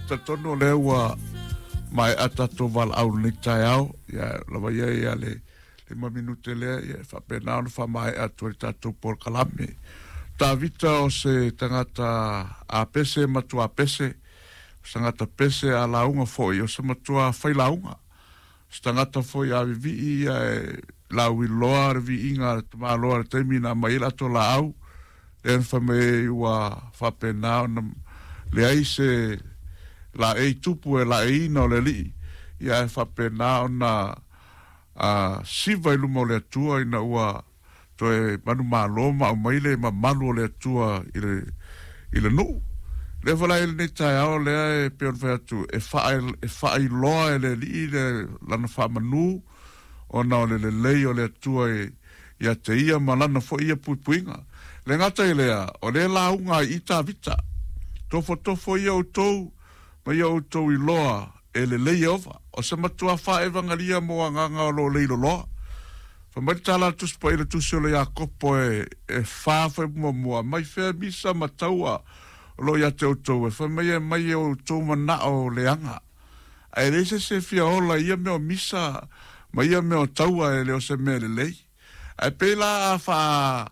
Talitonu o lea ua maea tatou valaau i lenei taeao, ia lava ia ia le 5 minute lea, ia e faapena ona faamaea atu ai le tatou polokalame. Tavita o se tagata a pese matua pese, o se tagata pese a lauga foi, o se matua failauga. O se tagata foi a vivii ia e lauiloa le viiga a le tamaloa i le taimi na aumai ai le ato laau, lea na fai mai ai ua faapena ona leai se laei tupu e laeiina o le Alii, ia ae faapena ona siva i luma o le Atua ina ua toe manumalo ma aumai le mamalu o le Atua i le, i le nuu. Lea foi la i lenei taeao lea e pei ona fai atu, e, faa, e faailoa e le Alii le lana faamanu ona o le lelei o le Atua i, ia te ia ma lana foi ia puipuiga. Le gata i lea, o lea lauga ai i Tavita, Tofotofo ia outou ma ia outou iloa e lelei Ieova. O se matua faaevagalia mo agaga o lo o leiloloa. Fai mai le tala a le Tusi Paia i le Tusi o le Iakopo e, e fa fai muamua, mai fea misa ma taua o lo o ia te outou, e fai mai e mai e outou manao leaga. Ae leai se isi e fia ola i ia mea o misa ma ia mea o taua e le o se mea lelei. Ae pei la a faa